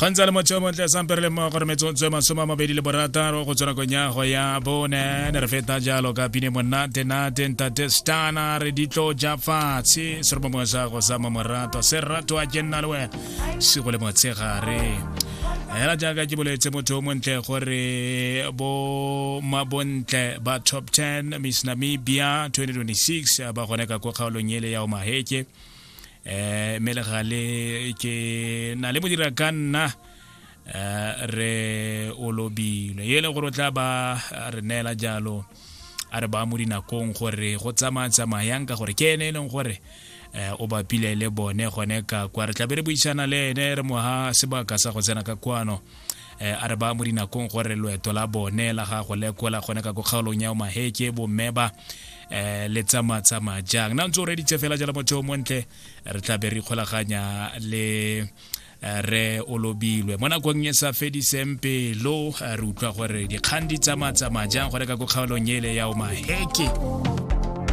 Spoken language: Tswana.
Go ntse le motho yo montle sampe re le mmogo re metsotso e 26 go tswa nakong ya go ya bone. Ne re feta jalo ka pine monate nate ntate stana re ditlo ja fatshe se re mongwe sa go sa morato se ratwa ke nna le wena sigo le motshegare. Hela jaaka ke boletse motho o montle gore bo mabontle ba top 10 Miss Namibia 2026 ba gone ka ko kgaolong ele ya Omaheke. Mme le gale ke na le modira ka nna re o lobilwe e le gore o tla ba re neela jalo a re ba mo dinakong gore go tsamaya tsamayang ka gore ke ene e leng gore o bapile le bone gone ka kwa. Re tlabe re buisana le ene re moga sebaka sa go tsena ka kwano, a re ba mo dinakong gore loeto la bone la gago lekola gone ka ko kgaolong ya Omaheke bomme ba le tsamaya tsamaya jang. Na ntse o reditse fela jalo motho o montle, re tla be re ikgolaganya le re o lobilwe mo nakong e sa fediseng pelo, re utlwa gore dikgang di tsamaya tsamaya jang gore ka ko kgaolong ele ya Omaheke.